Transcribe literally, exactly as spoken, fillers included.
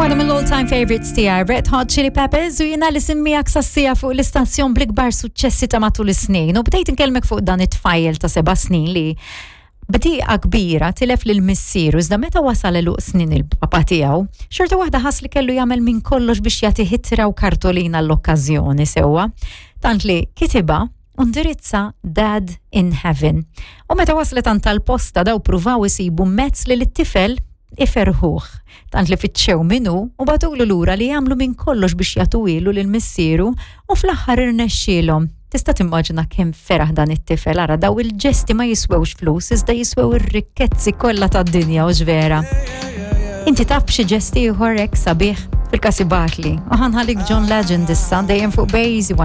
Waħda mill-all time favorites tiegħi, Red Hot Chili Peppers, u jiena li semmijak sassija fuq l-istazzjon bl-ikbar suċċessi ta' matul is-snin. U bdejt inkellmek fuq dan it-tfajjel ta' seba' snin li b'dieqa kbira tilef lil missieru, iżda meta wasal għeluq snin il-papa tiegħu, xorta waħda ħass li kellu jagħmel minn kollox biex jagħti ittra u kartolina l-okkażjoni sewwa. Tant li kitibha u ndirizza "Dad in Heaven". U meta waslet għand tal-posta, daw pruvaw isibu mezz li l-tifel iferħuh. Tant li fittxew minnu u bagħtulu lura li jagħmlu minn kollox biex jagħtuhielu lil missieru u fl-aħħar irnexxielhom. Tista' timmaġina kemm feraħ dan it-tifel? Ara, daw il-ġesti ma jiswewx flus, iżda jiswew ir-rikkezzi kollha tad-dinja, u vera. Inti taf xi ġesti ieħor hekk sabiħ? Fil-każ ibgħatli. U ħa nħallik John Legend issa, dejjem fuq Base